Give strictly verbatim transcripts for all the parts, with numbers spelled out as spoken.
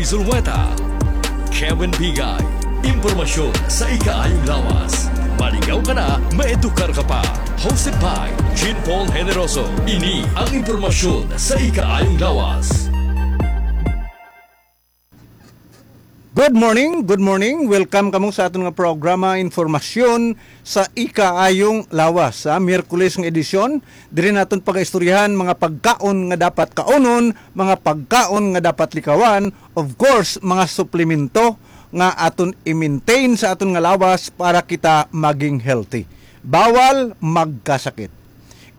Zulueta, Kevin Bigay. Impormasyon sa ikaayong lawas. Maligaw ka na, maedukar ka pa. Hosted by Jean Paul Generoso. Ini ang impormasyon sa ikaayong lawas. Good morning, good morning. Welcome kamo sa aton nga programa, Informasyon sa Ikaayong Lawas, sa Miyerkules nga edisyon. Diri naton pagaistoryahan mga pagkaon nga dapat kaunon, mga pagkaon nga dapat likawan, of course, mga suplemento nga aton i-maintain sa aton nga lawas para kita maging healthy. Bawal magkasakit.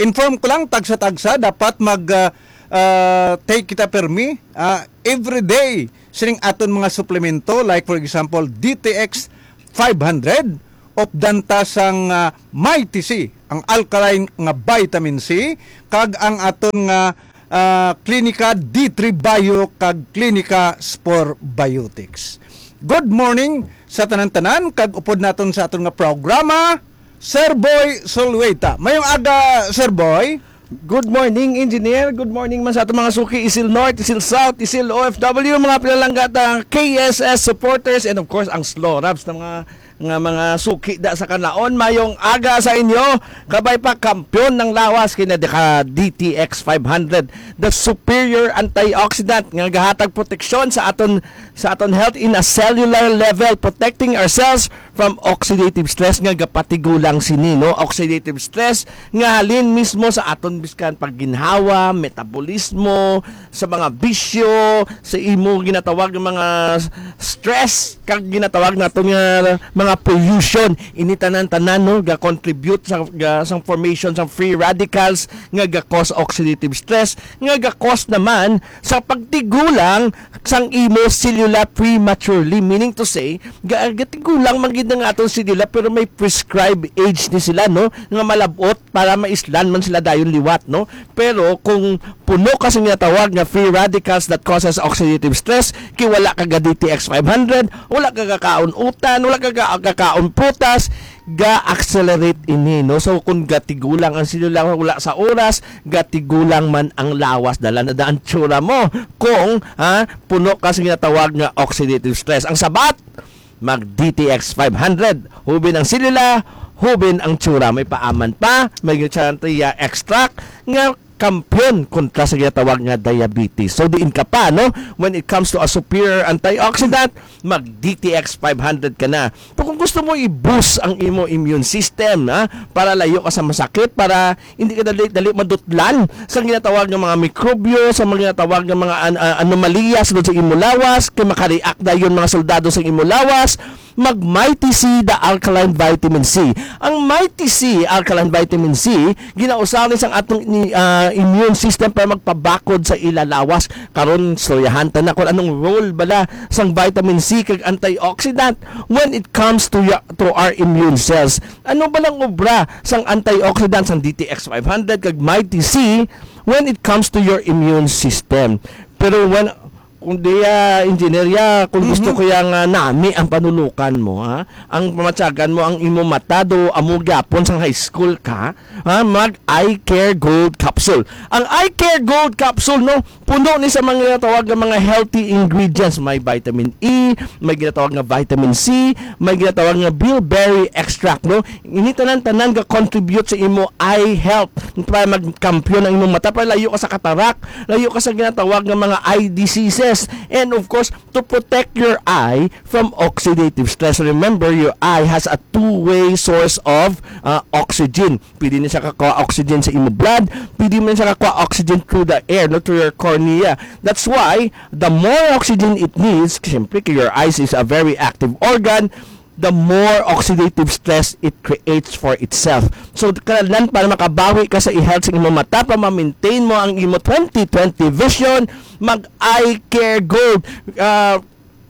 Inform ko lang, tagsa-tagsa dapat mag, ah, ah, take kita permi, ah, every day sining aton mga suplemento, like for example, D T X five hundred, updan ta sang, ah, Mighty C, ang alkaline nga vitamin C, kag ang aton nga, ah, Klinika D three Bio kag Klinika Spore Biotics. Good morning sa tanan-tanan, kag upod naton sa aton nga programa, Sir Boy Solweta. Mayong aga, Sir Boy. Good morning, Engineer. Good morning man sa aton mga suki, Isil North, Isil South, Isil O F W, mga pinalangga ta K S S supporters, and of course, ang Slorabs na mga, nga mga suki da sa kanaon. Mayong aga sa inyo. Kabay pa, kampiyon ng lawas kina ka D T X five hundred, the superior antioxidant nga gahatag proteksyon sa aton, sa aton health in a cellular level, protecting our cells from oxidative stress nga gapatigulang sini, no? Oxidative stress nga halin mismo sa aton biskan pagginhawa, metabolismo, sa mga bisyo, sa imo ginatawag nga mga s-, stress, kag ginatawag naton nga mga pollution. Ini tanan-tanan, no, ga-contribute sa, ga, sa formation sa free radicals nga ga-cause oxidative stress, nga ga-cause naman sa pagtigulang sang imo selula prematurely, meaning to say, ga-, gatigulang man gid ang aton selula, pero may prescribed age ni sila, no, nga malabot para maislan man sila dayon liwat, no? Pero kung puno ka sa ginatawag nga free radicals that causes oxidative stress, kay wala ka ga D T X five hundred, wala ka gakaon utan, wala ka ga-, gakaon prutas, ga-accelerate ini, no? So, kung gatigulang ang selula, wala sa oras, gatigulang man ang lawas, dala na da ang tsura mo. Kung, ha, puno ka sa ginatawag nga oxidative stress. Ang sabat, mag D T X five hundred. Hubin ang selula, hubin ang tsura. May paaman pa, may glutathione extract nga kampiyon kontra sa ginatawag nga diabetes. So, diin ka pa, no? When it comes to a superior antioxidant, mag D T X five hundred ka na. Pero kung gusto mo i-boost ang imo immune system, ha? Para layo ka sa masakit, para hindi ka dali, dali madutlan sa ginatawag nga mga mikrobyo, sa mga ginatawag nga mga an-, ah, anomalya sa, sa imo lawas, kay makareact dayon mga soldado sa imo lawas, mag Mighty C, the alkaline vitamin C. Ang Mighty C, alkaline vitamin C, ginausaw ni sang atong ni, ah, immune system para magpabakod sa ila lawas. Karon, istoryahan ta na kung anong role bala sang vitamin C kag antioxidant when it comes to ya-, to our immune cells. Ano ba lang obra sang antioxidant sang D T X five hundred kag Mighty C when it comes to your immune system? Pero when, kung diya, engineer ya, kung gusto Mhm. ko yang, ah, nami ang panulukan mo, ha? Ang pamatyagan mo, ang imo mata do, amo gyapon sang high school ka, ha? Mag Eye Care Gold Capsule. Ang Eye Care Gold Capsule, no, puno ni sa mga ginatawag nga mga healthy ingredients. May vitamin E, may ginatawag nga vitamin C, may ginatawag nga bilberry extract, no? Ini tanan-tanan ga-contribute sa imo eye health para magkampiyon ang imong mata, para layo ka sa katarak, layo ka sa ginatawag nga mga eye diseases, and of course, to protect your eye from oxidative stress. Remember, your eye has a two-way source of, uh, oxygen. Pwede na siya kakuha oxygen sa imo blood, pwede man siya kakuha oxygen through the air, no, through your cornea. That's why, the more oxygen it needs, siyempre, your eyes is a very active organ, the more oxidative stress it creates for itself. So, kinahanglan para makabawi ka sa i-health sa imong mata, para ma-maintain mo ang imo twenty twenty vision, mag Eye Care Gold. Ah,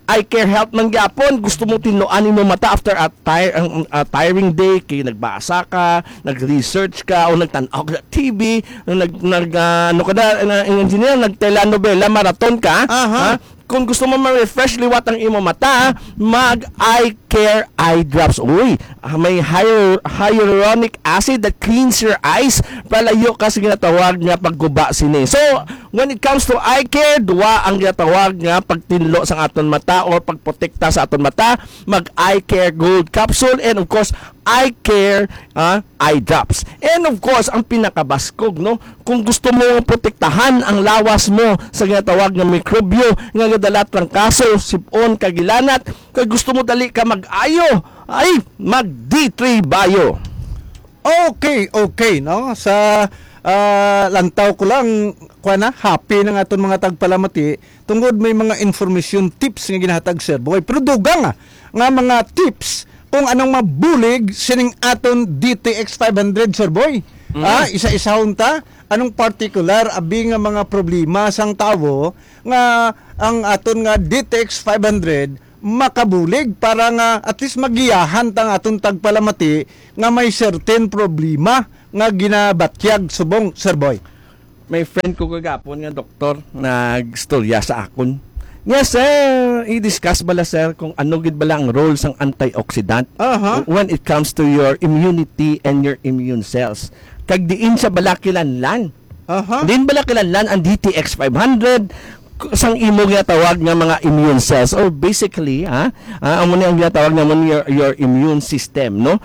Eye Care Health man gyapon. Gusto mo tinluan imong mata after a tire-, ang, a tiring day, kay nagbasa ka, nag-research ka, o nagtan-aw ka sa T V, nag, nag, ah, ano ka na, na, engineer, nag-telenovela, marathon ka, Aha. ha? kung gusto mo ma-refresh liwat ang imo mata, mag-eye care eye drops. Uy, ah, may hyal-, hyaluronic acid that cleans your eyes. Palayo ka sa ginatawag nga pagguba sini. So, when it comes to eye care, duwa ang ginatawag nga pagtinlo sa aton mata or pagprotekta sa aton mata, mag-eye care gold capsule, and of course, eye care, ah, eye drops. And of course, ang pinakabaskog, no? Kung gusto mo protektahan ang lawas mo sa ginatawag nga mikrobyo nga gadala trangkaso, sipon, kag ilanat, kay gusto mo dali ka mag-ayo, ay mag D three Bio. Okay, okay, no? Sa, ah, lantaw ko lang, kuwan na, happy na nga aton mga tagpalamati tungod may mga information tips nga ginahatag, Sir Boy. Pero dugang, ah, nga mga tips kung anong mabulig sining aton D T X five hundred, Sir Boy. Mm. Ah, isa-isahon ta. Anong particular abi nga mga problema sang tawo nga ang aton nga D T X five hundred makabulig para nga at least magiyahan ta ang aton tagpalamati nga may certain problema nga ginabatyag subong, Sir Boy? May friend ko kagapon nga doktor nagstorya sa akon. Nga, sir, i-discuss bala, sir, kung ano gid bala ang role sang antioxidant Aha. when it comes to your immunity and your immune cells. Kag diin siya bala kilanlan. Aha. Diin bala kilanlan ang D T X five hundred, k-, sang imo ginatawag nga mga immune cells. Or basically, ha, ah, amo ni ang ginatawag namon your, your immune system, no?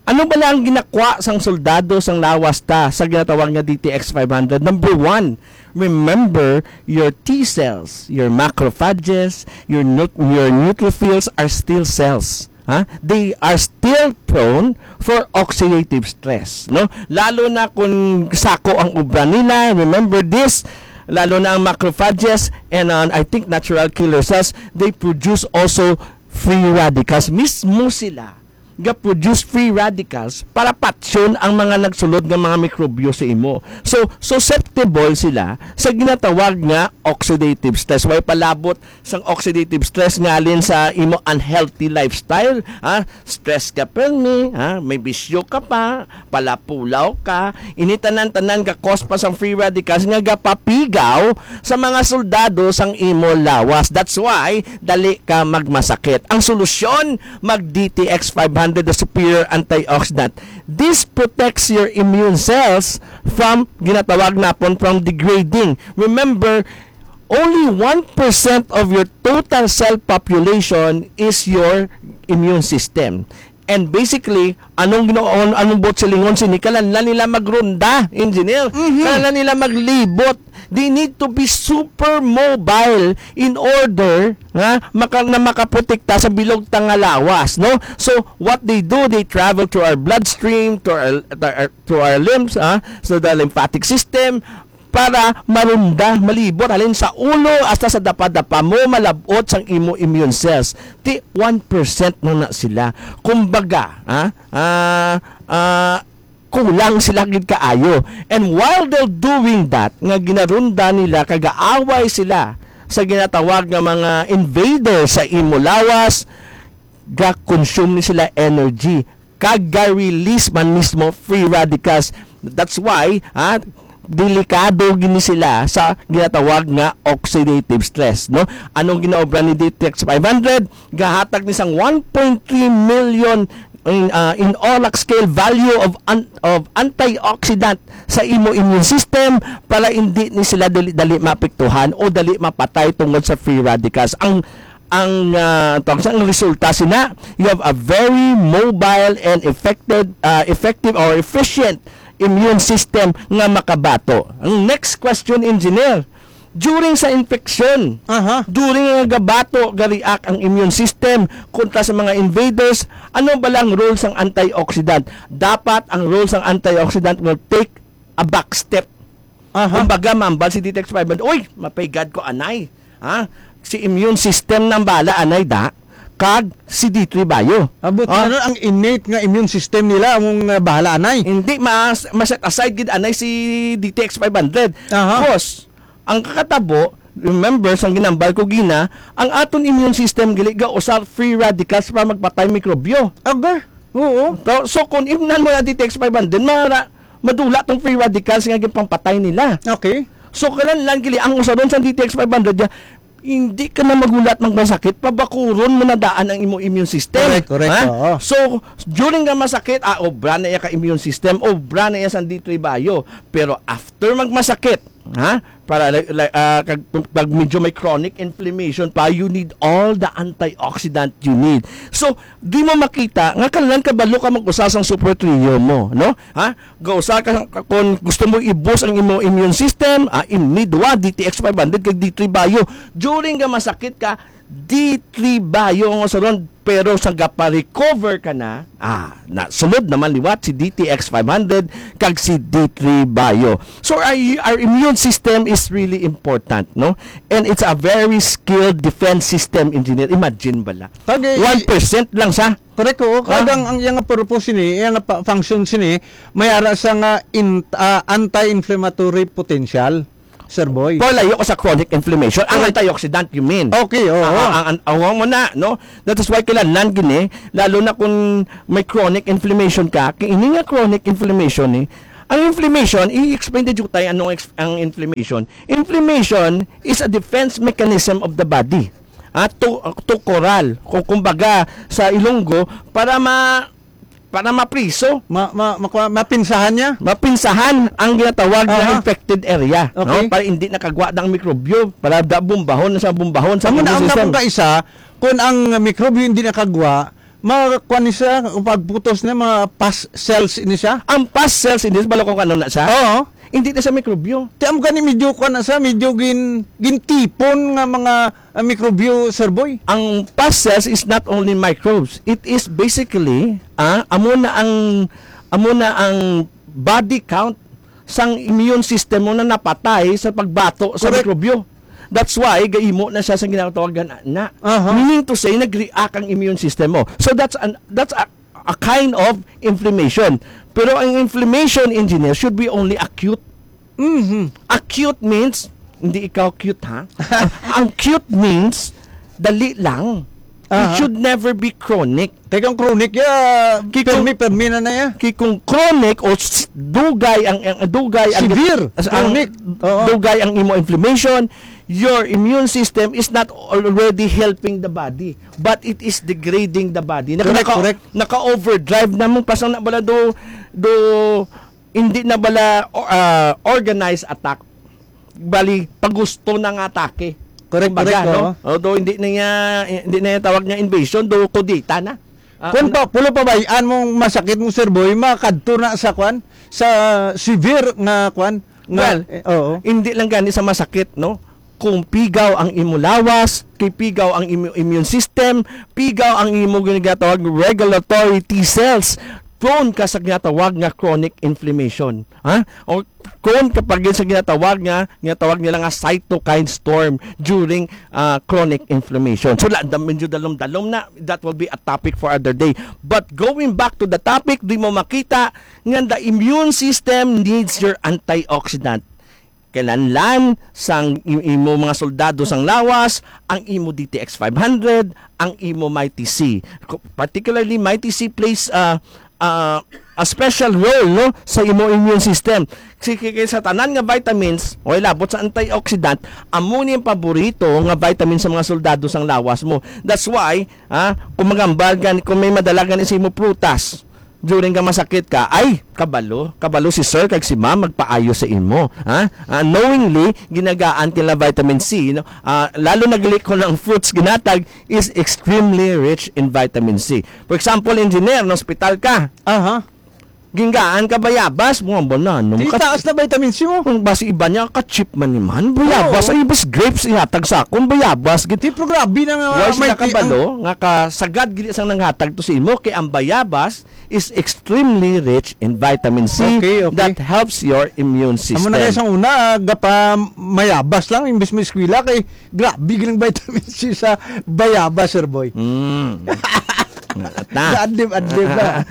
Ano bala ang ginakwa sang soldado sang lawas ta sa ginatawag nga D T X five hundred? Number one, remember your T cells, your macrophages, your neut-, your neutrophils are still cells. Ha? They are still prone for oxidative stress, no? Lalo na kung sako ang obra nila, remember this, lalo na ang macrophages and, uh, I think natural killer cells, they produce also free radicals. Mismo sila ga-produce free radicals para patyon ang mga nagsulod nga mga mikrobyo sa imo. So, susceptible sila sa ginatawag nga oxidative stress. Way palabot sang oxidative stress ngalin sa imo unhealthy lifestyle, ha? Stress ka permi, ha? May bisyo ka pa, palapulaw ka, ini tanan-tanan ga-cause pa sang free radicals nga gapapigaw sa mga soldado sang imo lawas. That's why dali ka magmasakit. Ang solusyon, mag D T X five hundred, the superior antioxidant. This protects your immune cells from, ginatawag napon, from degrading. Remember, only one percent of your total cell population is your immune system. And basically, anong ginoon, anong buot silingon sini? Kalanlan nila magronda, engineer. Mhm. Kalanlan nila maglibot. They need to be super mobile in order nga maka-, na makaprotekta sa bilog ta nga lawas, no? So, what they do, they travel through our bloodstream, to our, to our, to our limbs, ah, so the lymphatic system, para marunda, malibot, halin sa ulo hasta sa dapadapa mo, malab-ot sang imo immune cells. Ti one percent na na sila. Kumbaga, ah, ah, ah, kulang sila gid kaayo. And while they're doing that, nga ginarunda nila, kagaaway sila sa ginatawag nga mga invader sa imo lawas, ga-consume ni sila energy, kag ga-release man mismo free radicals. That's why, ha, delikado gini sila sa ginatawag nga oxidative stress, no? Anong ginaobra ni D T X five hundred? Gahatag ni sang one point three million in, ah, in ORAC scale value of an-, of antioxidant sa imo immune system para hindi ni sila dali-dali maapektuhan o dali mapatay tungod sa free radicals. Ang, ang, ah, tawag sa, ang resulta sina, you have a very mobile and effective, ah, effective or efficient immune system nga makabato. Ang next question, engineer, during sa infection, Aha. during nga gabato, ga-react ang immune system kontra sa mga invaders, ano ba lang role sang antioxidant? Dapat ang role sang antioxidant will take a back step. Aha. Kumbaga, mambal si D T X five hundred, "Uy, mapaygad ko anay." Ha? Si immune system nang bala anay da, kag si D three Bio. Abot Ha? na ron ang innate nga immune system nila among, uh, bahala anay. Hindi, mas, ma-set aside gid anay si D T X five hundred. Aha. Cause, ang kakatabo, remember, sang ginambal ko gina, ang aton immune system gali ga usar free radicals para magpatay mikrobyo. Aga? Oo. So, so kung imnan mo na D T X five hundred, mara, madula tong free radicals nga ginpangpatay nila. Okay. So, kanan lang gili, ang usaron sa D T X five hundred, ya, hindi ka na magulat magmasakit, pabakuron mo na daan ang imo immune system. Correct, correct, Ha? oo. So, during nga masakit, ah, obra na iya ka immune system, obra na iya sang D three Bio. Pero after magmasakit, ha? Para like, like, ah, kag, pag medyo may chronic inflammation pa, you need all the antioxidant you need. So, di mo makita nga kinahanglan kabalo ka mag-usa sang super trio mo, no? Ha? Gausa ka, kung gusto mo i-boost ang imo immune system, ah, imni duwa, D T X five hundred kag D three Bio. During nga masakit ka, D three Bio ang usaron, pero sa gapa-recover ka na, ah, na, sunod naman liwat si D T X five hundred kag si D three Bio. So, our, our immune system is really important, no? And it's a very skilled defense system, engineer. Imagine bala. Kag, eh, One percent lang sa Correct, oo. Ah. Kag ang, ang iyang purpose sini, iyang pa-, function sini, may ara sa nga in-, ah, anti-inflammatory potential, Sir Boy. Palayo ko sa chronic inflammation. Ang Correct. antioxidant, you mean? Okay, oo. Ah, ah, ang, ang, ang mo na, no? That is why kailangan gini, lalo na kung may chronic inflammation ka, kay ini nga chronic inflammation, eh, ang inflammation, i-explain di jutay anong ex-, ang inflammation. Inflammation is a defense mechanism of the body. Ah, to, to corral, kung kumbaga sa Ilonggo, para ma-, para mapriso. Ma-, ma-, makwa-, mapinsahan niya? Mapinsahan ang ginatawag na Aha. infected area, no? Okay. Para hindi nakagwa ang mikrobyo, para da bumbahon na sa bumbahon sa Amo na immune ang system. Nakong kaisa, kung ang mikrobyo hindi nakagwa, ma-, kuwan ni siya, pagputos na, mga pus cells ini siya? Ang pus cells ini, balo kung ano na siya? Oo. Hindi na siya mikrobyo. Ti, amo gani medyo kuwan na siya, medyo gin-, gintipon nga mga, ah, mikrobyo, Sir Boy. Ang pus cells is not only microbes. It is basically, ah, amo na ang, amo na ang body count sang immune system mo na napatay sa pagbato sa Correct. mikrobyo. That's why gaimo na siya sa ginatawagan na. Aha. Meaning to say, nag-react ang immune system mo. So that's an, that's a, a kind of inflammation. Pero ang inflammation, engineer, should be only acute. Mhm. Acute means, hindi ikaw cute, ha? Ang cute means, dali lang. It Aha. should never be chronic. Kay kung chronic, ya, Kay kung permi, permi na na ya. Kay kung chronic o s-, dugay ang, ang dugay ang Severe. as-, ang Chronic. Oo. dugay ang imo inflammation, your immune system is not already helping the body, but it is degrading the body. Naka-, Correct, naka-, correct. naka-overdrive na mo, pasang na bala do, do, hindi na bala, o, ah, organized attack. Bali, pagusto na nga atake. Correct, Kumbaga, correct, no? oo. Although hindi na niya, hindi na niya tawag niya invasion, do kudeta na. Ah, Kung ano pa, pulo pa ba, an mong masakit mo, Sir Boy, makadto na sa kwan, sa severe nga kwan, nga, Well, eh, oo. hindi lang gani sa masakit, no? Kung pigaw ang imo lawas, kay pigaw ang imo immune system, pigaw ang imo ginatawag regulatory T cells, prone ka sa ginatawag nga chronic inflammation. Ha? O prone ka pa gid sa ginatawag nga, ginatawag nila nga cytokine storm during, ah, chronic inflammation. So, la, da-, medyo dalom-dalom na, that will be a topic for other day. But going back to the topic, di mo makita nga the immune system needs your antioxidant. Kinahanglan sang i-, imo mga soldado sang lawas, ang imo D T X five hundred, ang imo Mighty C. Co-, particularly, Mighty C plays, ah, ah, a special role, no, sa imo immune system. Kasi kay, kay sa tanan nga vitamins, o labot sa antioxidant, amo ni ang paborito nga vitamin sa mga soldado sang lawas mo. That's why, ah, kung magambal gani, kung may madala gani sa imo prutas, during nga masakit ka, ay, kabalo, kabalo si sir kag si ma'am magpaayo sa imo, ha? Ah, knowingly, ginagaan nila vitamin C, no? Ah, lalo na gali kung ang fruits ginatag is extremely rich in vitamin C. For example, engineer, na hospital ka. Aha. Ginagaan ka bayabas, mga banana. Di Maka- taas na vitamin C mo. Kung basi iba niya, ka-cheap man ni man. Bayabas, Oo. ay, bas grapes ihatag sa akon, bayabas. Gid-, Di, pero grabe na nga, Why may sila ti-, kabalo? Nga ka, sagad gid sang nanghatag to sa imo, kay ang bayabas is extremely rich in vitamin C Okay, okay. that helps your immune Amo na system. kayo sa una, ah, gapa mayabas lang, imbes mo eskwela, kay grabe galing vitamin C sa bayabas, Sir Boy. Mm. At na. Adlib-adlib na.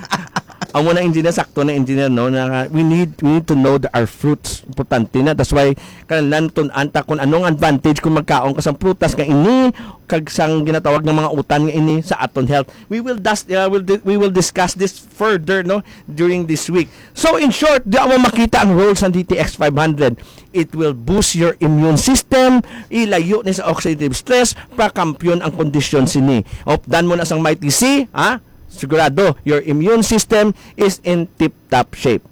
Amo na, engineer, sakto na, engineer, no, na we need, we need to know the, our fruits. Importante na. That's why, kinahanglan tun-an ta kung anong advantage kung magkaon ka sang prutas nga ini, kag sang ginatawag nga mga utan nga ini sa aton health. We will das-, uh, will di-, we will discuss this further, no, during this week. So, in short, di mo makita ang role sa D T X five hundred. It will boost your immune system, ilayo ni sa oxidative stress, pakampiyon ang kondisyon sini. Updan mo na sang Mighty C, ha? Sigurado, your immune system is in tip-top shape.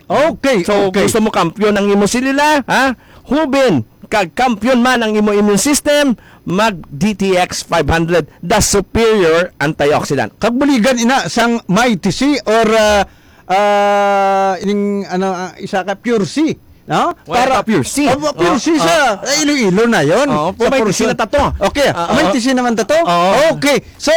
Okay, So, okay. gusto mo kampiyon ang imo selula, ha? Hubin, kag kampiyon man ang imo immune system, mag D T X five hundred, the superior antioxidant. Kag buligan ina sang Mighty C or, ah, ah, ining, ano, ah, isa ka Pure C, no? Wala ka Pure C. Oh, Pure C Oh, sa, oh. eh, Iloilo na yon. Oh, Sa may Pure C. tisina tato. Okay, Ah, may oh. tisina naman tato. Oh. Okay. So,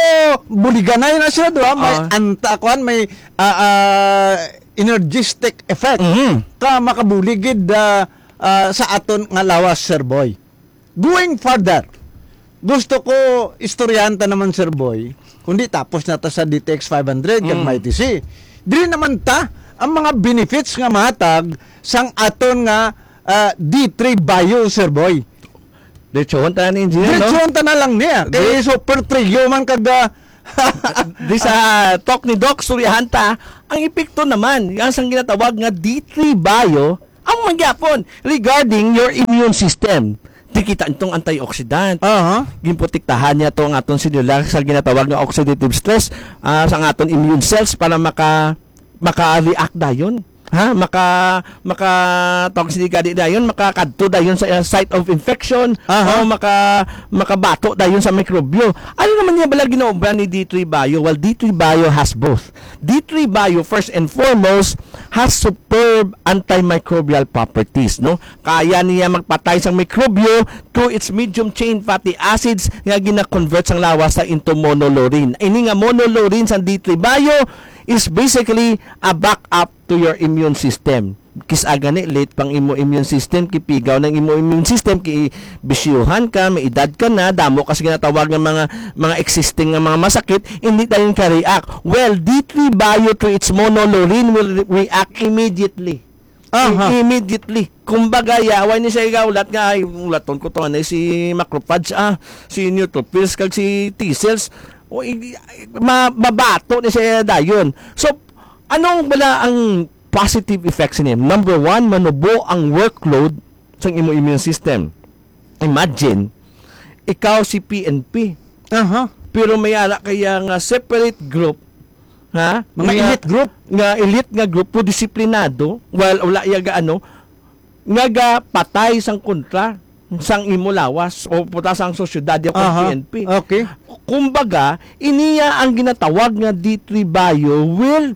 buligan na yun na sila, duha. May Ah. anta, kuan, may, ah, ah, energistic effect. Mhm. Ka makabuligid, ah, ah, sa aton nga lawas, Sir Boy. Going further, gusto ko istoryahan ta naman, Sir Boy, kundi tapos na ta sa D T X five hundred kag Mm. Mighty C. Dili naman ta ang mga benefits nga matag sang aton nga, ah, D three Bio, Sir Boy. Diretsohon ta na ni engineer, no? Diretsohon ta na lang niya. Kay Di- super trio man kag, ah, Di sa talk ni Doc, suryahan ta ang epekto naman yang sang ginatawag nga D three Bio, ang mangyapon regarding your immune system. Di kita itong antioxidant. Aha. Ginprotektahan niya to ang aton selula sa ginatawag nga oxidative stress, ah, sa aton immune cells para maka maka-react dayon. Ha? Maka, maka, tawag sini gani dayon, makakadto dayon sa, uh, site of infection, Aha. o maka, makabato dayon sa mikrobyo. Ano naman niya bala ginaobra ni D three Bio? Well, D three Bio has both. D three Bio, first and foremost, has superb antimicrobial properties, no? Kaya niya magpatay sang mikrobyo through its medium chain fatty acids nga gina-convert sang lawas sa into monolaurin. Ini nga monolaurin sang D three Bio is basically a backup to your immune system. Kis-a gani, late pang imo immune system, kipigaw ng imo immune system, ki bisyuhan ka, may edad ka na, damo ka sa ginatawag nga mga, mga existing nga mga masakit, hindi dayon ka react. Well, D three Bio through its monolaurin will re-, react immediately. Aha. I-, immediately. Kumbaga, ya, way ni siya igaulat nga, "Ay, ulaton ko to, anay si macrophage, ah, si neutrophils, kag si T cells." O, i-, i-, ma-, mabato ni siya dayon. So, anong bala ang positive effects ni? Number one, manubo ang workload sa imo immune system. Imagine, ikaw si P N P. Aha. Pero may ara kaya nga separate group, ha? Mga Nga, elite group? Nga elite nga grupo, disiplinado, wal-, wala iya ga ano, nga gapatay sang kontra sang imo lawas o puta sang sosyedad ya kon Aha. P N P. Okay. Kumbaga, iniya ang ginatawag nga D three Bio will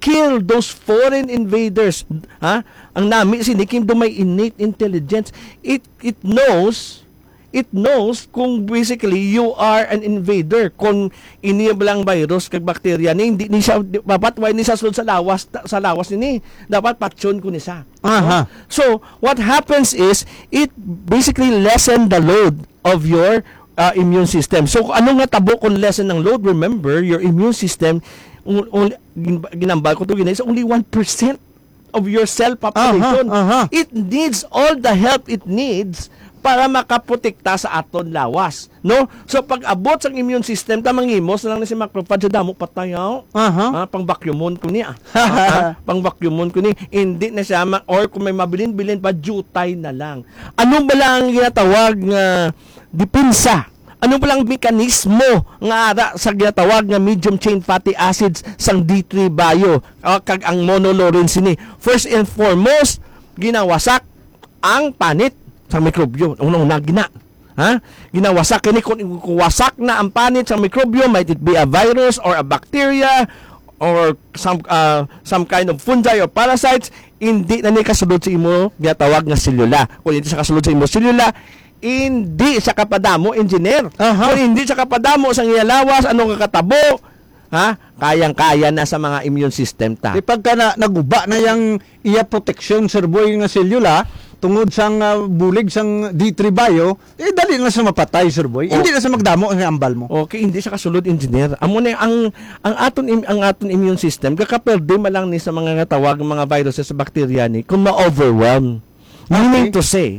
kill those foreign invaders. Ha? Ang nami sini kay do may innate intelligence. It, it knows, it knows kung basically you are an invader. Kung ini lang virus kag bakterya ni, hindi ni siya, dapat way ni siya sulod sa lawas, sa lawas ni. Dapat patyon ko ni siya. Aha. So, what happens is, it basically lessen the load of your, uh, immune system. So, kung ano nga tabo kung lessen ang load? Remember, your immune system, un-, un-, gin-, ginambal ko to, gina-, is only one percent of your cell population. Aha, aha. It needs all the help it needs para makaprotekta sa aton lawas, no? So, pag abot sang immune system, ta manghimos na lang na si macrophage sa damo patay, oh. Aha. Ah, pang vacuumon ko niya. Ah, pang vacuumon ko ni. Hindi na siya ma-, or kung may mabilin-bilin pa, jutay na lang. Ano ba lang ang ginatawag nga depensa? Ano ba lang ang mekanismo nga ara sa ginatawag nga medium chain fatty acids sang D three Bio, ah, kag ang monolaurin sini? First and foremost, ginawasak ang panit sa mikrobyo. Una-una gina. Ha? Ginawasak kini kung, kung wasak na ang panit sa mikrobyo, might it be a virus or a bacteria or some, ah, some kind of fungi or parasites, hindi na ni kasulod sa imo ginatawag nga selula. Kung hindi siya kasulod sa imo selula, hindi siya kapadamo, engineer. Aha. Kung hindi siya kapadamo sa iya lawas, ano nga katabo? Ha? Kayang-kaya na sa mga immune system ta. Di pagka na, naguba na yang iya proteksyon, Sir Boy, nga selula, tungod sang, ah, bulig sang D three Bio, eh, dali na sa mapatay, Sir Boy. Oh. Hindi na sa magdamo ang ambal mo. Okay, hindi siya kasulod, engineer. Amo na ang, ang aton im-, ang aton immune system, kakaperde man lang ni sa mga nga tawag, mga viruses, sa bakterya ni, kung ma-overwhelm. Meaning Okay. to say,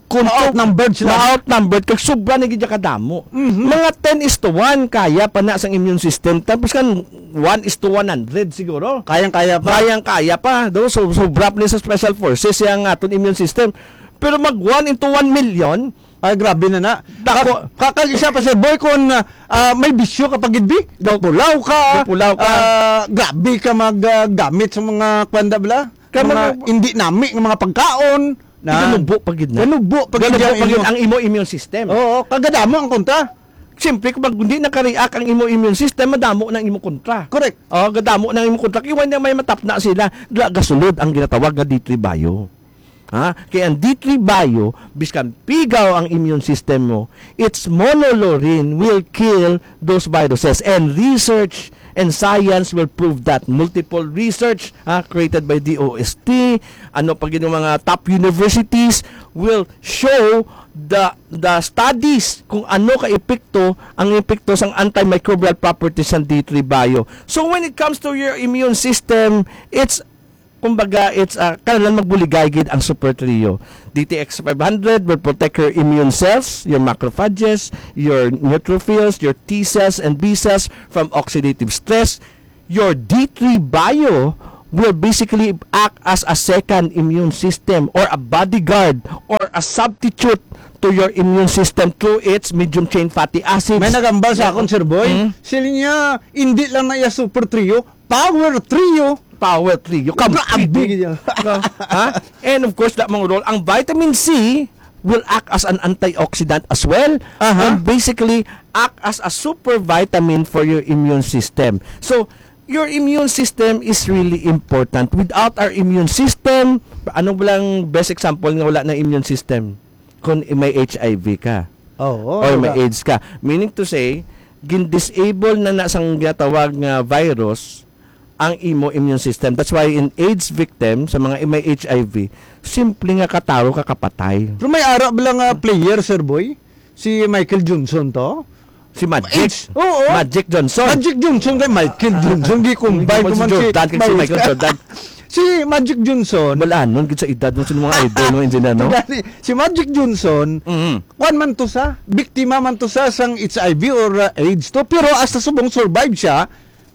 kung Ma-outnumbered sila. Ma-outnumbered, kag sobra na gid niya kadamo. Mhm. Mga ten is to one, kaya pa na sang immune system. Tapos kan one is to one hundred siguro. Kayang-kaya pa. Kayang-kaya pa. Do, so, sobra pa ni sa special forces yang aton immune system. Pero mag one into one million, Ay, grabe na na. Dako. Ka-, kakag isa pa, Sir Boy, kung, ah, ah, may bisyo ka pa gid, bi? Gapulaw ka. Gapulaw ka. Ah, grabe ka mag, ah, gamit sa mga kwanda bala. Kaya Mga mag- hindi nami nga mga pagkaon. Na Ganubo pa gid na. Ganubo pa gid Ganubo ang pa gid imo. ang imo immune system. Oo, kagadamo ang kontra. Siyempre, kung pag hindi nakareact ang imo immune system, madamo na ang imo kontra. Correct. Oh, gadamo na ang imo kontra. Iwan niya may matapna sila. Ga-, gasulod ang ginatawag nga D three Bio. Ha? Kaya ang D three Bio, biskan pigaw ang immune system mo, its monolaurin will kill those viruses. And research and science will prove that. Multiple research, ha, created by D O S T, ano pa gid yung mga top universities will show the the studies kung ano ka epekto ang epekto sang antimicrobial properties sang D three Bio. So when it comes to your immune system, it's kumbaga, it's, ah, kinahanglan magbuligay gid ang Super Trio. D T X five hundred will protect your immune cells, your macrophages, your neutrophils, your T cells and B cells from oxidative stress. Your D three Bio will basically act as a second immune system or a bodyguard or a substitute to your immune system through its medium chain fatty acids. May nagambal sa akon, Sir Boy. Mm. Sila niya, hindi lang na iya Super Trio, Power Trio. Power Trio. Grabe Kampi. Gid yan. No? Ha? And of course, that mga role, ang vitamin C will act as an antioxidant as well. Aha. And basically, act as a super vitamin for your immune system. So, your immune system is really important. Without our immune system, ano ba lang best example nga wala na immune system? Kung may H I V ka. Oo, Or may wala. AIDS ka. Meaning to say, gin-disable na na sang ginatawag nga virus ang imo immune system. That's why in AIDS victim, sa mga may H I V, simple nga kataro ka kapatay. Pero may ara bala nga player, Sir Boy? Si Michael Johnson to? Si Magic. AIDS. Oo. Magic Johnson. Magic Johnson kay Michael Johnson, gi-combine Hindi ko mo man si si Jordan, kay si Michael Michael. Jordan. Si Magic Johnson. Wala nun, gid sa edad mo, sa mga idol mo, engineer, no? Gani, si Magic Johnson, Mhm. kuwan man to sa, biktima man to sa sang H I V or, uh, AIDS to, pero hasta subong survive siya,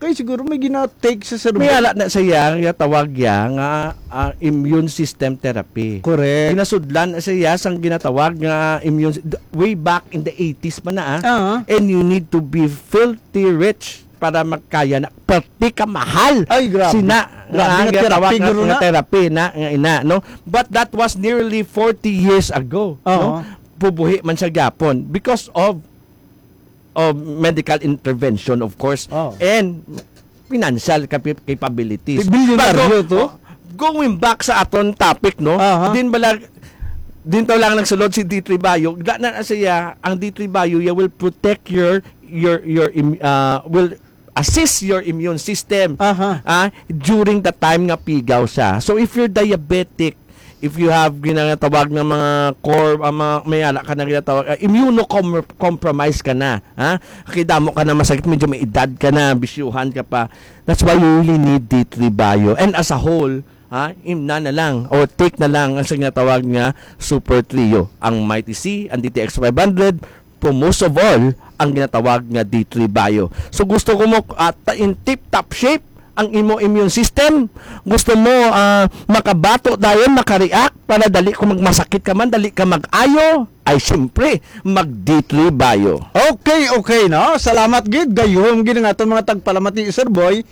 kay siguro may gina-take sa May serbal. ala na siya, nga tawag ya, nga, ah, immune system therapy. Correct. Ginasudlan na siya sang ginatawag nga immune, way back in the eighties pa na, ah. Ah. And you need to be filthy rich para magkaya na, pati ka mahal. Ay, grabe. Sina, Grabe nga nga therapy, tawag nga, guro nga na. therapy na, nga ina, no? But that was nearly forty years ago, Oo. no? Pubuhi man siya gyapon because of, of medical intervention, of course, Oo. and financial capi-, capabilities. Bilyonaryo But go-, to? oh, going back sa aton topic, no? Aha. Din bala, din to lang nagsulod si D three Bio. Gana na siya, ang D three Bio, yeah, will protect your, your, your, im-, ah, will assist your immune system, Aha. ah, during the time nga pigaw siya. So, if you're diabetic, if you have ginatawag nga mga cor-, ah, mga, may ala ka na ginatawag, ah, immunocompromised ka na, ha? Kay damo ka na masakit, medyo may edad ka na, bisyuhan ka pa. That's why you really need D three Bio. And as a whole, ha, imna na lang or take na lang ang sa ginatawag nga Super Trio. Ang Mighty C, ang D T X five hundred, pero most of all, ang ginatawag nga D three Bio. So gusto ko mo, ah, ta-, in tip-top shape ang imo immune system. Gusto mo, ah, makabato dayon, makareact para dali ko magmasakit ka man, dali ka mag-ayo. Ay, siyempre, mag D three Bio. Okay, okay, no? Salamat gid. Gayom gid ang aton mga tagpalamati, Sir Boy,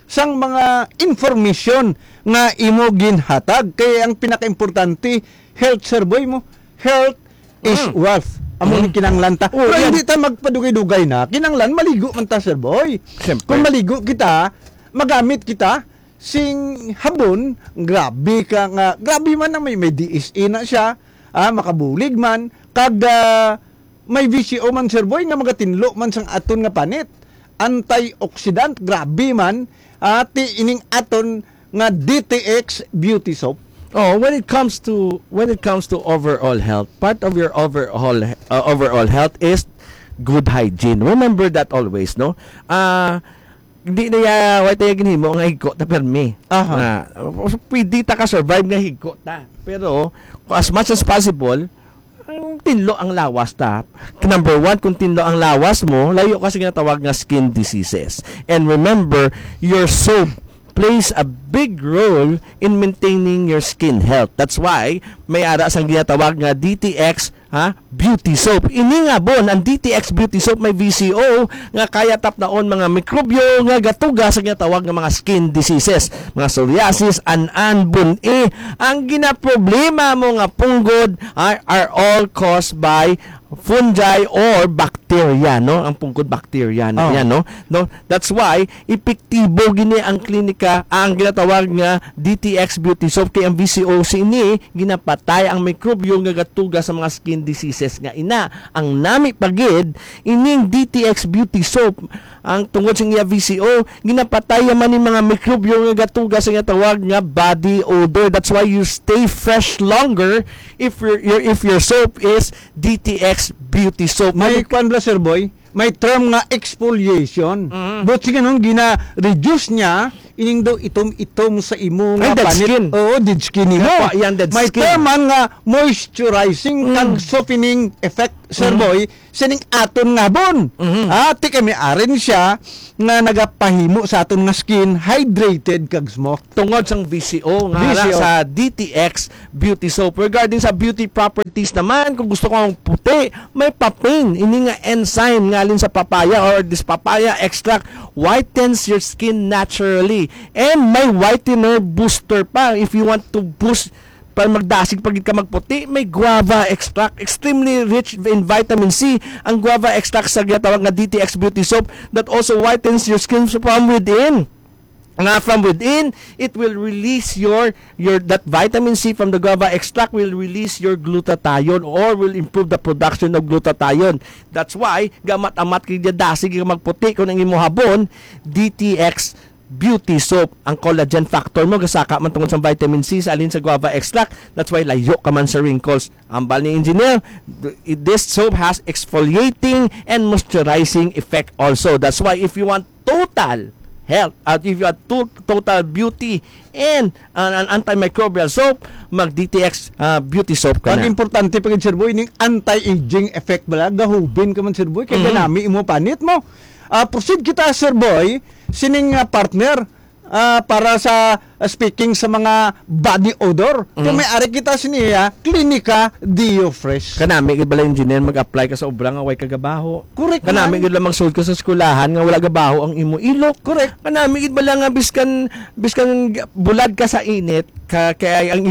sang mga information nga imo ginhatag. Kay ang pinakaimportante, health, Sir Boy, mo. Health is Mm. wealth. Amo ni Mm. kinahanglan ta. Oh, Pero yan. hindi ta magpadugay-dugay na. Kinahanglan, maligo man ta, Sir Boy. Siyempre. Kung maligo kita, magamit kita, sing habon, grabe ka nga, grabe man na may, may D S A na siya, ah, makabulig man, kag, ah, may V C O man, Sir Boy, nga magatinlo man sang aton nga panit. Antioxidant, grabe man, ah, ti ining aton nga D T X Beauty Soap. Oh, when it comes to, when it comes to overall health, part of your overall, uh, overall health is good hygiene. Remember that always, no? Ah, di na ya, wa tayo ginhimo nga higko ta permi. Aha. Ah, pwede ta ka survive nga higko ta. Pero as much as possible, ang tinlo ang lawas ta. Number one, kung tinlo ang lawas mo, layo ka sa ginatawag nga skin diseases. And remember, your soap plays a big role in maintaining your skin health. That's why may ara sang ginatawag nga D T X, ha, beauty soap. Ini nga bon, ang D T X beauty soap may V C O nga kaya tapnaon mga mikrobyo nga gatuga sa ginatawag nga mga skin diseases, mga psoriasis, an-an, bun-i. Ang ginaproblema mo nga punggod are, are all caused by fungi or bacteria, no? Ang punggod bacteria na Oh. yan, no? No, that's why epektibo gini ang klinika, ang ginatawag nga D T X beauty soap, kay ang V C O C ini ginapatay ang mikrobyo nga gatuga sa mga skin diseases nga ina. Ang nami pa gid, ining D T X beauty soap, ang tungod sa iya V C O, ginapatay man ni mga mikrobyo nga gatuga sa ginatawag nga body odor. That's why you stay fresh longer if your, your if your soap is D T X beauty soap. May Mag- kwan bala, Sir Boy? May term nga exfoliation. Mm. But sige nun, gina-reduce niya ining daw itom-itom sa imo Ay, nga dead panit. Skin. Oo, dead skin nimo. Kaya pa, yan, dead May skin. Term man nga moisturizing Mm. kag softening effect, Sir Mm. Boy, sining aton nga bon. Mm. Ah, ti kami aren siya nga nagapahimo sa aton nga skin hydrated kag smooth. Tungod sang V C O nga V C O. Ara sa D T X beauty soap. Regarding sa beauty properties naman, kung gusto ko ang puti, may papain. Ini nga enzyme nga alin sa papaya or this papaya extract whitens your skin naturally. And may whitener booster pa if you want to boost para magdasig pa gid ka magputi, may guava extract, extremely rich in vitamin C. Ang guava extract sa ginatawag nga D T X beauty soap that also whitens your skin from within. Nga from within, it will release your, your, that vitamin C from the guava extract will release your glutathione or will improve the production of glutathione. That's why gamat-amat kay dasig ka magputi kung ang imo habon, D T X beauty soap. Ang collagen factor mo gasaka man tungod sa vitamin C sa alin sa guava extract. That's why layo ka man sa wrinkles. Ambal ni engineer, th- this soap has exfoliating and moisturizing effect also. That's why if you want total health, at if you want to- total beauty and an, an antimicrobial soap, mag D T X, ah, beauty soap ka Ang na. Importante pa gid, Sir Boy, ning anti-aging effect bala, gahubin ka man, Sir Boy, kay Mhm. ganami imo panit mo. Ah, proceed kita, Sir Boy, sining, ah, partner, ah, para sa, ah, speaking sa mga body odor. Kung Mhm. may ari kita siniya, Clinica Deo Fresh. Kanami gid bala, engineer, mag-apply ka sa obra nga way ka gabaho. Correct Kanami man. Gid lang magsulod ka sa eskwelahan nga wala gabaho ang imo ilok. Correct. Kanami gid bala nga biskan, biskan bulad ka sa init, ka, kay ang imo